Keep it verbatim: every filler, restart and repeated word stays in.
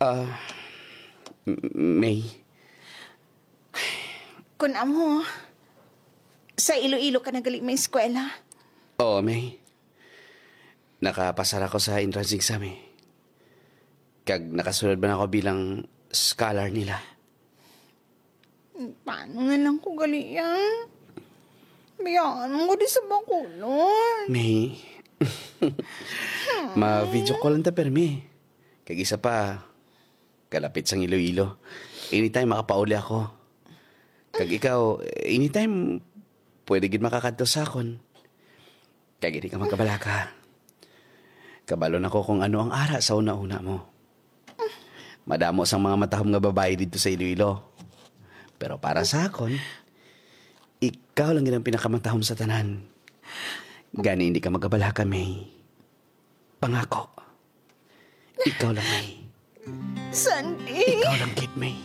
Ah, M-, May. Kun amo, sa Iloilo ka na gali may eskwela? Oo, May. Nakapasar ako sa entrance exam, eh. Kag nakasulod man ako bilang scholar nila. Paano nga lang ko gali, ah? Biyaan mo ko di sa Bacolod. May. Ma-video call lang ta, permi. Kag isa pa, kalapit sang Iloilo. Anytime makapauli ako. Kag ikaw, anytime pwede gid makakadto sa akon. Kag hindi ka magkabalaka. Kabalo na ko kung ano ang ara sa una-una mo. Madamo sang mga matahom nga babayi didto sa Iloilo. Pero para sa akon, ikaw lang gid ang pinakamatahom sa tanan. Gani hindi ka magkabalaka, May. Pangako. Ikaw lang, May. Sandy! Ikaw lang gid, May.